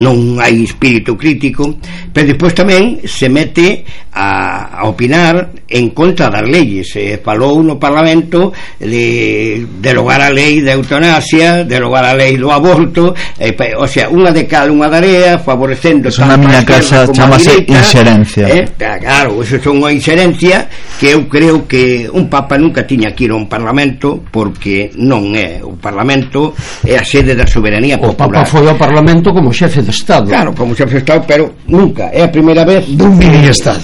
non hai espírito crítico, pero despois tamén se mete a opinar en contra das leyes. Falou no Parlamento de derogar a lei de eutanasia, derogar a lei do aborto, o sea, unha de cal, unha tarea, favorecendo tanto a miña casa chamase inxerencia. Claro, eso é unha inxerencia que eu creo que un Papa nunca tiña que ir a un Parlamento, porque non é o Parlamento, é a sede da soberanía popular. O Papa foi ao Parlamento como xefe de Estado. Claro, como xefe de Estado, pero nunca, é a primeira vez dun mini-Estado,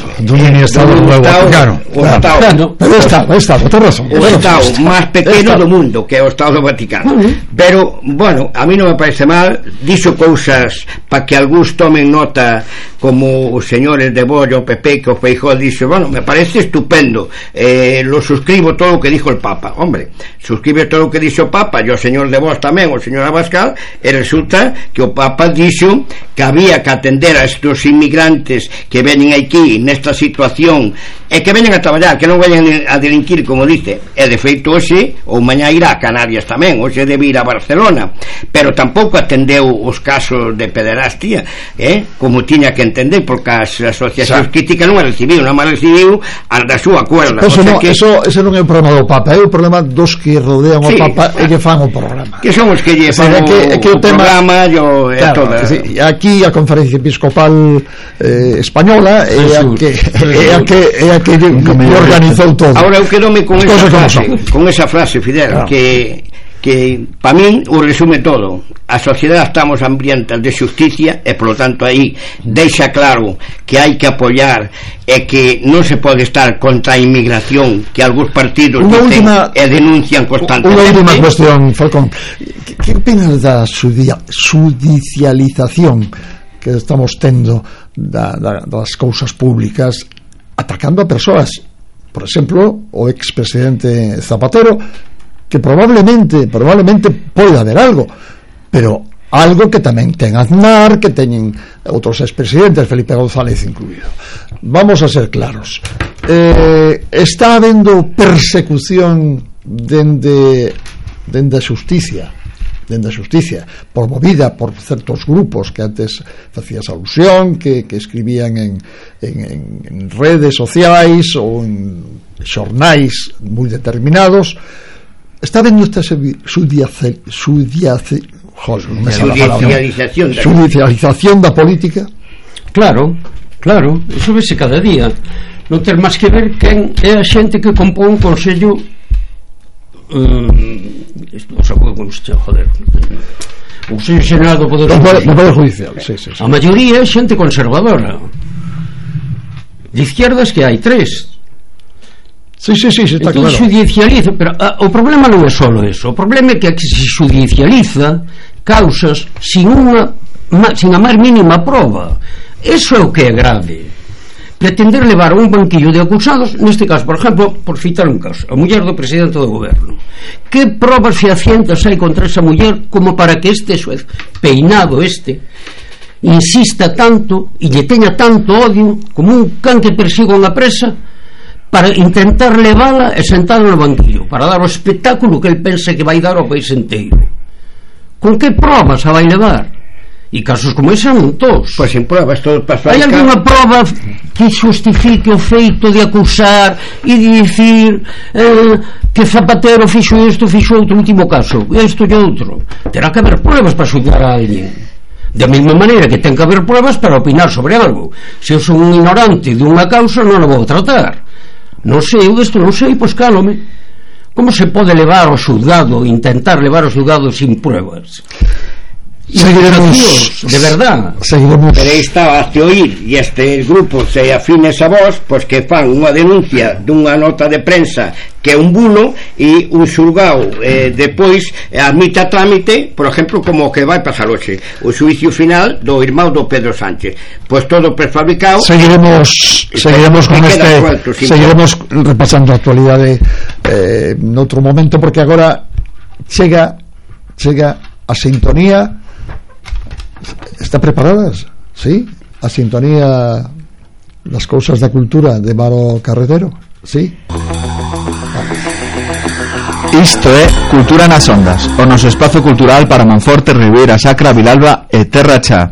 claro. O Estado, ten razón. O Estado máis pequeno do mundo, que é o Estado do Vaticano. Pero, bueno, a mí non me parece mal, dixo cousas para que algúns tomen nota, como os señores de Bollo, PP, que o Feijóo dixo, bueno, me parece estupendo, lo suscribo todo o que dijo el Papa. Hombre, suscribe todo o que dixo o Papa, e o señor de Vos tamén, o señor Abascal, e resulta que o Papa dixo que había que atender a estos inmigrantes que veñen aquí nesta situación e que veñen a traballar, que non veñen a delinquir, como dice, e de feito hoxe ou mañá irá a Canarias tamén, hoxe debe ir a Barcelona, pero tampouco atendeu os casos de pederastia, como tiña que entender, porque as asociacións críticas non a recibiu, non a recibiu a da súa cuerda. Ese non é o problema do Papa, é o problema dos que rodean o Papa e que fan o programa, que son os que lle fan o programa e todo. Aquí a Conferencia Episcopal Española é a que organizou todo. Ahora eu quedome con esa frase, Fidel, que para min o resume todo. A sociedade estamos hambrientas de xusticia e polo tanto aí deixa claro que hai que apoiar e que non se pode estar contra a inmigración que algúns partidos dicen e denuncian constantemente. Unha última cuestión, Falcón, que opinas da judicialización que estamos tendo das cousas públicas, atacando a persoas, por exemplo, o expresidente Zapatero, que probablemente pode haber algo, pero algo que tamén ten Aznar, que teñen outros expresidentes, Felipe González incluído. Vamos a ser claros, está habendo persecución dende a xusticia, promovida por certos grupos que antes facías alusión, que escribían en redes sociais ou en xornais moi determinados. Está vendo esta judicialización da política? Claro, eso vese cada día. Non ter máis que ver quen é a xente que compón un consello o Consello Xeral do Poder Judicial. A maioría é xente conservadora, de izquierdas, que hai 3. Sí, está claro. Judicializa, pero o problema non é só eso. O problema é que se judicializa causas sin a máis mínima prova. Eso é o que é grave. Pretender levar un banquillo de acusados, neste caso, por exemplo, por citar un caso, a muller do presidente do goberno. Que probas fehacientas hai contra esa muller como para que este xuez peinado insista tanto e lle teña tanto odio como un can que persiga unha presa, para intentar levala e sentarla no banquillo, para dar o espectáculo que el pense que vai dar ao país inteiro? Con que probas a vai levar? E casos como ese non todos. Pois sin pruebas, todo pasou. Hai algunha prova que justifique o feito de acusar e de dicir que Zapatero fixo isto, fixo outro, último caso, isto e outro? Terá que haber pruebas para xulgar a alguén. Da mesma maneira que ten que haber pruebas para opinar sobre algo. Se eu son un ignorante dunha causa, non a vou tratar. Non sei, eu isto non sei, pois cálome. Como se pode levar ao xulgado, intentar levar ao xulgado sin pruebas? Seguiremos, de verdad. Seguiremos. Pero aí está a oír, e estes grupos se afines a vos, pois que fan unha denuncia dunha nota de prensa que é un bulo, e un xulgado depois admite a trámite, por exemplo, como o que vai pasar hoxe, o xuicio final do irmão do Pedro Sánchez. Pois todo prefabricado. Seguiremos con seguiremos repasando a actualidade noutro momento, porque agora chega a sintonía. ¿Está preparadas? ¿Sí? A sintonía das cousas da cultura de Maro Carretero? ¿Sí? Isto é Cultura nas Ondas, o noso espazo cultural para Manforte, Ribeira Sacra, Vilalba e Terra Cha.